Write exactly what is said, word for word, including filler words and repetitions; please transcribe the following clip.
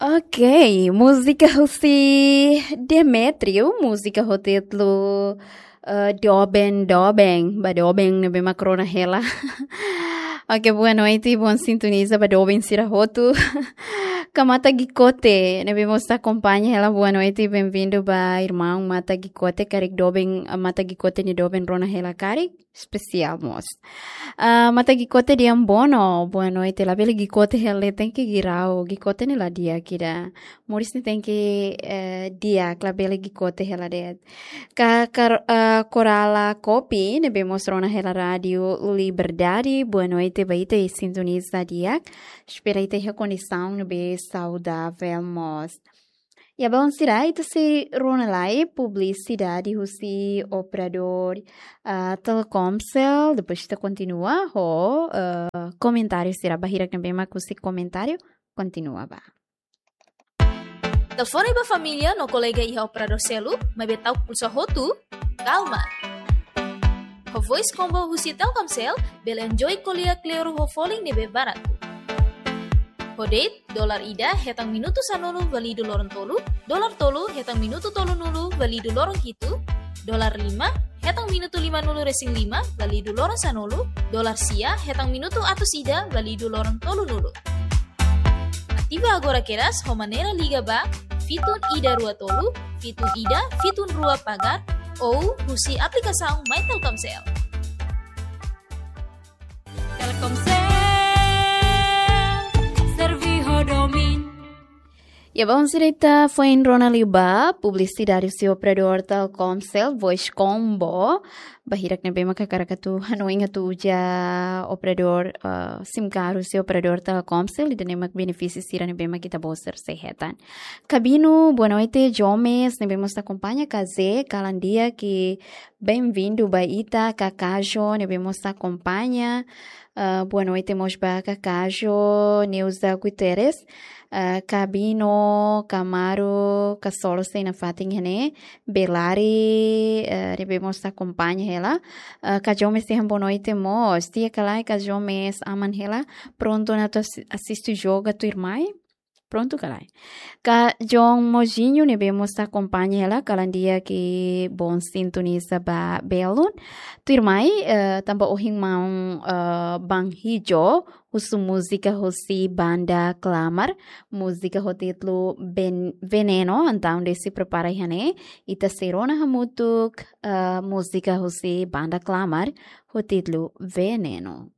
Ok, múzika husi Demetrio, múzika ho títulu, eh, Doben Doben, ba doben ne'ebé mak rona hela. Ok, boa noite, bom sintoniza ba doben sira hotu. Ka Mata Gikote, ne'ebé mós akompaña hela, boa noite, bem-vindo ba irmaun Mata Gikote, karik doben, eh, Mata Gikote nia doben rona hela karik espesiál mós. Ah, Mata Gikote Diambono, boa noite. Labele gikote hela, tenke girau. Gikote ne'e la di'ak ida. Moris ne'e tenke, eh, di'ak, labele gikote hela de'it. Ka, kar-, ah, Korala Kopi, ne'ebé mós rona hela Rádio Liberdade, boa noite ba ita, sintoniza di'ak. Espera ita iha kondisaun ne'ebé saudável mós. Ya, bainhira ita sei rona lai publisidade husi operadór, ah, Telkomcel, depois ita kontinua ho, ah, komentáriu sira ba hirak ne'ebé mak husi komentáriu, kontinua ba. Telefone ba família no kolega iha operadór seluk, maibé ta'uk pulsa hotu, kalma. Ho Voice Combo husi Telkomcel, bele enjoy ko'alia kleur ho folin ne'ebé baratu. Ho date, dolar ida hetan minutu sanulu válidu loron tolu, dolar tolu hetan minutu tolunulu válidu loron hitu, dolar lima hetan minutu limanulu resin lima válidu loron sanulu, dolar sia hetan minutu atus ida válidu loron tolunulu. Ativa agora kedas ho maneira liga ba fitun ida rua tolu, fitun ida, fitun rua pagar, ou husi aplikasaun My Telkomcel. Telkomcel, servi ho domin. Ya, bainhira ita foin rona liu ba publisidade husi operadór Telkomcel, Voice Combo. Ba hirak ne'ebé mak hakarak atu hanoin atu uza operadór, ah, SIM card husi operadór Telkomcel, ida-ne'e mak benefísiu sira ne'ebé mak ita-boot sira sei hetan. Kabinu, boa noite, Jomes, ne'ebé mós akompaña, Kaze, kalan di'ak, bem-vindo ba ita, Kakajo, ne'ebé mós akompaña, ah, boa noite mós ba Kakajo, Neuza Guterres, ah, Kabino, Kamaru, Kasolo sei nafatin iha ne'e, Belari, ah, ne'ebé mós akompaña hela, ah, Kajomes sei han boa noite mós, tia ka lae Kajomes, aman hela, prontu ona atu asi-, asiste jogu tuirmai? Prontu ka lae? Ka John Mojinho ne'ebé mós akompaña hela, kalan di'ak, bom sintoniza ba belun. Tuirmai, eh, tanba ohin maun, eh, Ban Hijo, husu múzika husi banda Klamar, múzika ho títulu Ben-, Veneno, entaun ita sei prepara iha ne'e, ita sei rona hamutuk, eh, múzika husi banda Klamar, ho títulu Veneno.